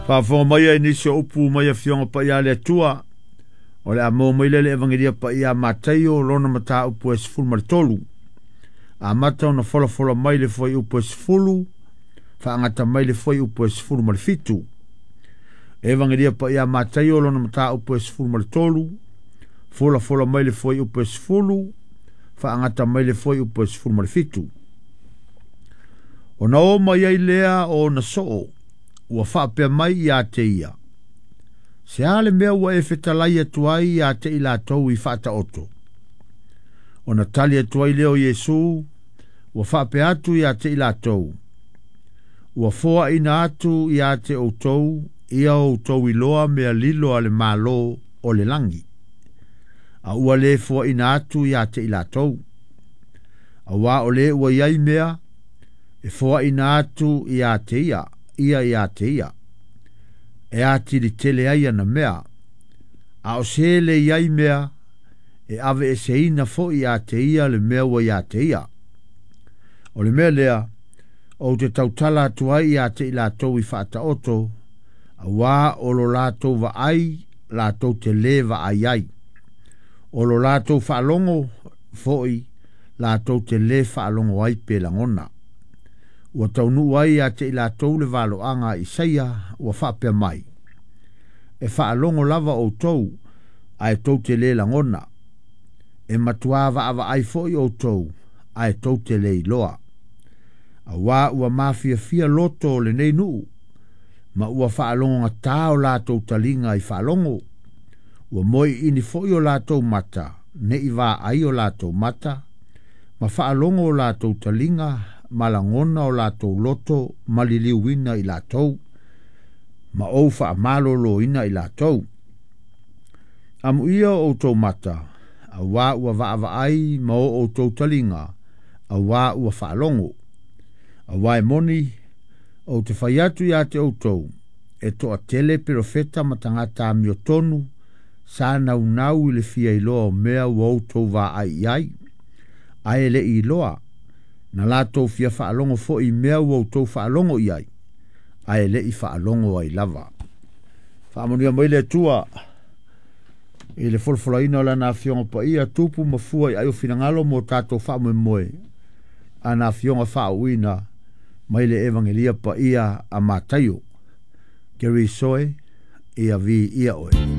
Faafofoga mai ai nisi o upu mai Afioga Paia a le Atua, o le a maua mai lea i le Evagelia Paia a Mataio lona mataupu e 13. Amata ona folafola mai le fuaiupu e 10, faagata mai le fuaiupu e 17. Evagelia Paia a Mataio lona mataupu e 13, folafola mai le fuaiupu e 10, faagata mai le fuaiupu e 17. Ona o mai ai lea o ona soo, ua faapea mai ia te ia, Se a le mea ua e fetalai atu ai ia te i latou i faataoto? Ona tali atu ai lea o Iesu, ua faapea atu ia te i latou, Ua foaina atu ia te outou ia outou iloa mea lilo a le Malo o le lagi, a ua le foaina atu ia te i latou. Auā o le ua i ai mea, e foaina atu ia te ia, ia ia te ia, e atili tele ai ana mea, a o se le i ai mea, e aveeseina foi ia te ia le mea ua ia te ia. O le mea lea, ou te tautala atu ai ia te i latou i faataoto, auā o lo latou vaai latou te lē vaai ai, o lo latou faalogo foi latou te lē faalogo ai pe lagona. Ua taunuu ai ia te i latou le valoaga a Isaia ua faapea mai, E faalogo lava outou, ae tou te lē lagona, e matuā vaavaai foi outou, ae tou te lē iloa. Auā ua mafiafia loto o lenei nuu, ma ua faalogogatā o latou taliga i faalogo, ua moeʻiʻini foi o latou mata, ne i vaai o latou mata, ma faalogo o latou taliga ma lagona o latou loto ma liliuina i latou, ma ou faamaloloina i latou. Amuia o outou mata, auā ua vaavaai ma o outou taliga, auā ua faalogo. Auā e moni, ou te fai atu ia te outou, e toatele perofeta ma tagata amiotonu sa naunau i le fia iloa o mea ua outou vaai i ai, ae e le i iloa, na latou fia faalogo foi i mea ua outou faalogo i ai, ae le i faalogo ai lava. Faamanuia mai le Atua i le folafolaina o Lana Afioga Paia, tupu ma fua i ai o finagalo mo tatou faamoemoe, ana Afioga faauuina mai le Evagelia Paia a Mataio. Gary Soe, ia viia oe.